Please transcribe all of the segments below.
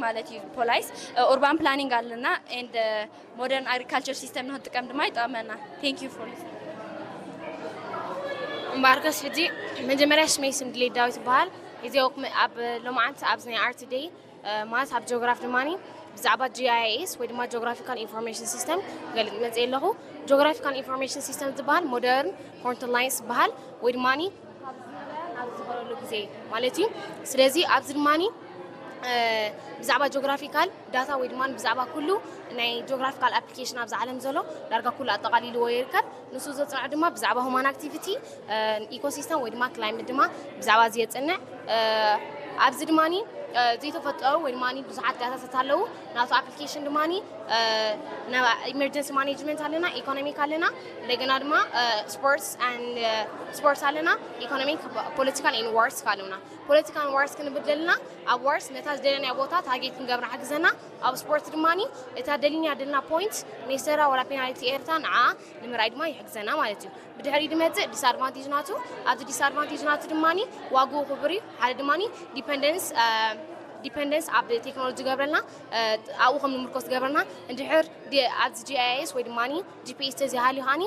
ማለት እዩ። ፖላይስ ኡርባን ፕላኒንግ ኣለና and modern agriculture system ንክንጥቀም ድማ ይጠቕመና። Thank you for listening። እምበኣርከስ ሕጂ መጀመርያ ሽመይ ስም ድሌት ዳዊት ይበሃል። ሕዚ ኣብ ሎማዓንቲ ኣብዚ ናይ ኣርት ደይ ማለት ኣብ ጂኦግራፍ ድማ ብዛዕባ ጂ ኣይ ኤስ ወይ ድማ ጂኦግራፊካል ኢንፎርሜሽን ሲስተም ገልፅ መፅእ ኣለኹ። ጂኦግራፊካል ኢንፎርሜሽን ሲስተም ዝበሃል ሞደርን ፍሮንትላይንስ ዝበሃል ወይ ድማ ኣብዚ ዝበለሉ ግዜ ማለት እዩ። ስለዚ ኣብዚ ድማ ብዛዕባ ጂኦግራፊካል ዳታ ወይ ድማ ብዛዕባ ኩሉ ናይ ጂኦግራፊካል ኣፕሊኬሽን ኣብዚ ዓለም ዘሎ ዳርጋ ኩሉ ኣጠቓሊልዎ ይርከብ። ንሱ ዘፅንዖ ድማ ብዛዕባ ሁማን ኣክቲቪቲ፣ ኢኮሲስተም ወይ ድማ ክላይመት ድማ ብዛዕባ እዚ የፅንዕ። ኣብዚ ድማ ዘይተፈጠሩ ወይ ድማ ብዙሓት ዳታታት ኣለዉ። ናቱ ኣፕሊኬሽን ድማ ኢመርጀንሲ ማኔጅመንት ኣለና፣ ኢኮኖሚክ ኣለና፣ እንደገና ድማ ስፖርትስ ስፖርትስ ኣለና፣ ኢኮኖሚክ፣ ፖለቲካል ን ዋርስ ኣለና። ፖለቲካል ዋርስ ክንብል ዘለና ኣብ ዋርስ ነታ ዝደለናያ ቦታ ታርጌት ክንገብራ ሓግዘና። ኣብ ስፖርት ድማ እታ ደሊና ደልና ፖይንት ሜሰራ ወላ ፔናልቲ ኤርታ ንዓ ንምርኣይ ድማ ይሕግዘና ማለት እዩ። ብድሕሪ ድመፅእ ዲስኣድቫንቴጅ ናቱ። ኣብዚ ዲስኣድቫንቴጅ ናቱ ድማ ዋግኡ ክቡር እዩ። ሓደ ድማ ዲፐንደንስ ዲፐንደንስ ኣብ ቴክኖሎጂ ገብረልና ኣብኡ ከም ንምርኮስ ገብረና። እንድሕር ኣብዚ ጂ ኣይ ኤስ ወይ ድማ ጂ ፒ ኤስ ተዚሃልዩ ሃኒ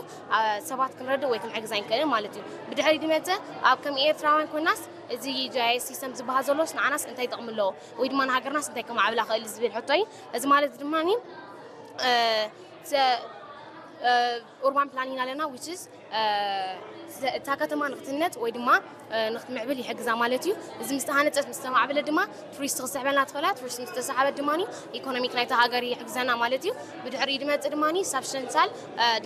ሰባት ክንረድእ ወይ ክንሕግዝ ኣይንክእልን ማለት እዩ። ብድሕሪ ድመፅእ ኣብ ከም ኤርትራውያን ኮይናስ እዚ ጂ ኣይ ኤስ ሲስተም ዝበሃል ዘሎስ ንዓናስ እንታይ ጥቕሚ ኣለዎ ወይ ድማ ንሃገርናስ እንታይ ከማዕብላ ክእል ዝብል ሕቶ እዩ። እዚ ማለት ድማ ኡርባን ፕላኒንግ ኣለና which is እታ ከተማ ንክትህነፅ ወይ ድማ ንክትምዕብል ይሕግዛ ማለት እዩ። እዚ ምስ ተሃነፀት ምስ ተማዕበለት ድማ ቱሪስት ክስሕበልና ትኽእላ። ቱሪስት ምስ ተሳሓበት ድማ ኢኮኖሚክ ናይታ ሃገር ይሕግዘና ማለት እዩ። ብድሕሪኡ ድመፅእ ድማ ሳብስተንሻል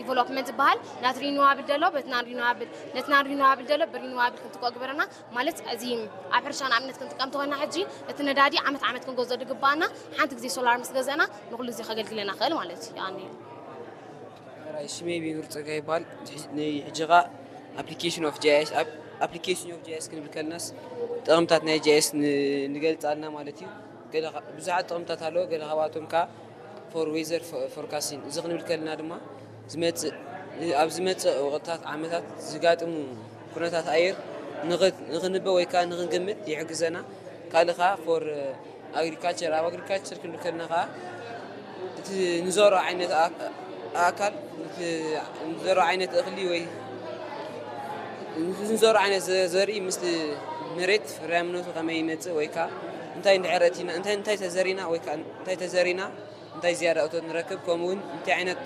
ዲቨሎፕመንት ዝበሃል ናት ሪኒዋብል ደሎ በትና ሪኒዋብል ነትና ሪኒዋብል ደሎ ብሪኒዋብል ክንትኮ ግበረና ማለት እዚ ኣብ ሕርሻ ንኣብነት ክንጥቀም ተኾና ሕጂ እቲ ነዳዲ ዓመት ዓመት ክንገዝኦ ድግባኣና ሓንቲ ግዜ ሶላር ምስ ገዘእና ንኩሉ ግዜ ከገልግለና ክእል ማለት እዩ። ሽመይ ቢኑር ፀጋ ይበሃል። ንሕጂ ኸዓ ኣፕሊኬሽን ኦፍ ጂ ኣይ ኤስ ኣፕሊኬሽን ኦፍ ጂ ኣይ ኤስ ክንብል ከለናስ ጥቕምታት ናይ ጂ ኣይ ኤስ ንገልፅ ኣለና ማለት እዩ። ብዙሓት ጥቕምታት ኣለዎ። ገለ ካብኣቶም ከዓ ፎር ዌዘር ፎርካስቲንግ እዚ ክንብል ከለና ድማ ዝመፅእ ኣብ ዝመፅእ ወቕትታት ዓመታት ዝጋጥሙ ኩነታት ኣየር ንኽንበ ወይ ከዓ ንኽንግምት ይሕግዘና። ካልእ ከዓ ፎር ኣግሪካልቸር ኣብ ኣግሪካልቸር ክንብል ከለና ከዓ እቲ ንዘርኦ ዓይነት ኣካል ንዘርኦ ዓይነት እኽሊ ወይ ንዘርኦ ዓይነት ዘርኢ ምስ መሬት ፍርያምነቱ ከመይ ይመፅእ ወይ ከዓ እንታይ እንድሕር ኣእቲና እንታይ እንታይ ተዘሪና ወይ ከዓ እንታይ ተዘሪና እንታይ ዝያዳ እቶት ንረክብ ከምኡ እውን እንታይ ዓይነት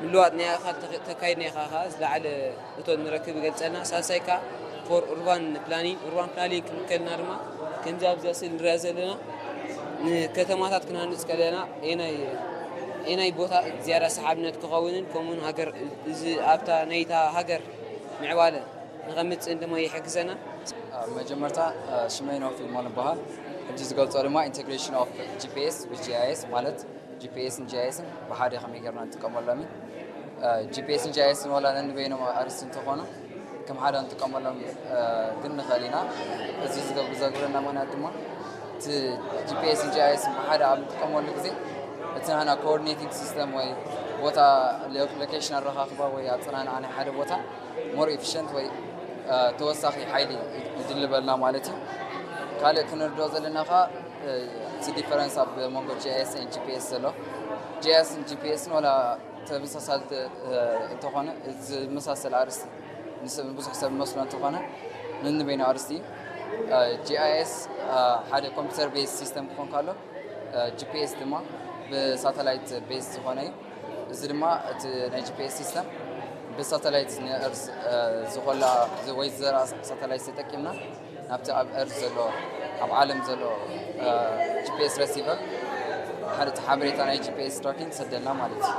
ምልዋጥ ናይ ኣኻል ተካይድና ኢኻ ከዓ ዝለዓለ እቶት ንረክብ ይገልፀልና። ሳልሳይ ከዓ ፎር ኡርባን ፕላኒንግ ኡርባን ፕላኒንግ ክንብል ከለና ድማ ከምዚ ኣብዚ ስእሊ ንሪኣ ዘለና ንከተማታት ክንሃንፅ ከለና ኣየናይ ቦታ ዝያዳ ሰሓብነት ክኸውንን ከምኡውን ሃገር እዚ ኣብታ ናይታ ሃገር ምዕባለ ንኸምፅእን ድማ ይሕግዘና። መጀመርታ ሽመይ ነው ፊልሞን ይበሃል። ሕጂ ዝገልፆ ድማ integration of G P S with G I S ማለት G P S ን G I S ን ብሓደ ከመይ ጌርና ንጥቀመሎም እዩ። G P S ን G I S ን ዋላ ነንበይኖም ኣርእስቲ እንተኾኑ ከም ሓደ ንጥቀመሎም ግን ንኽእል ኢና። እዚ ዘግብረና ምኽንያት ድማ እቲ G P S ን G I S ን ብሓደ ኣብ ንጥቀመሉ ግዜ እቲ ናህና coordinating system ወይ ቦታ location ኣረኻኽባ ወይ ኣፀናንዓ ናይ ሓደ ቦታ more efficient ወይ ተወሳኺ ሓይሊ ይድልበልና ማለት እዩ። ካልእ ክንርድኦ ዘለና ከዓ እቲ difference ኣብ መንጎ G I S ን G P S ዘሎ G I S ን G P S ን ዋላ ተመሳሳልቲ እንተኾነ ዝመሳሰል ኣርእስቲ ንብዙሕ ሰብ ዝመስሎ እንተኾነ ነንበይኑ ኣርእስቲ እዩ። G I S ሓደ computer based system ክኾን ከሎ G P S ድማ ብ satellite based ዝኾነ እዩ። እዚ ድማ እቲ ናይ G P S system ብ satellite ን earth ዝኾላ ወይ ዝዘርኣ satellite ተጠቂምና ናብቲ ኣብ earth ዘሎ ኣብ ዓለም ዘሎ G P S receiver ሓደ ሓበሬታ ናይ G P S tracking ይሰደልና ማለት እዩ።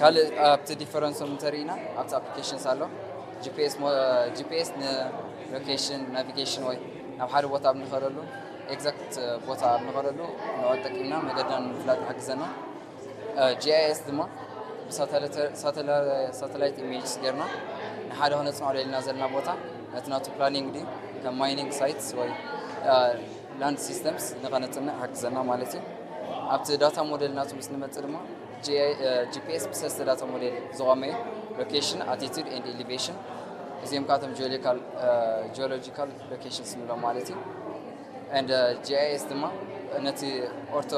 ካልእ ኣብቲ difference ኦም እንተሪኢና ኣብቲ applications ኣሎ G P S ን location navigation ወይ ናብ ሓደ ቦታ ኣብ ንኸደሉ exact ቦታ ኣብ ንኸደሉ ንዕኡ ጠቂምና መገድና ንምፍላጥ ይሕግዘና። G I S ድማ ብ satellite images ጌርና ንሓደ ክነፅንዖ ደሊና ዘለና ቦታ ነቲ ናቱ planning ድዩ ከም mining sites ወይ land systems ንኸነፅንዕ ይሕግዘና ማለት እዩ። ኣብቲ data model ናቱ ምስ ንመፅእ ድማ G P S ብሰለስተ data model ዝቖመ እዩ። Location, altitude and elevation እዚኦም ካቶም geological locations ንብሎም ማለት እዩ። And G I S ድማ ነቲ ኦርቶ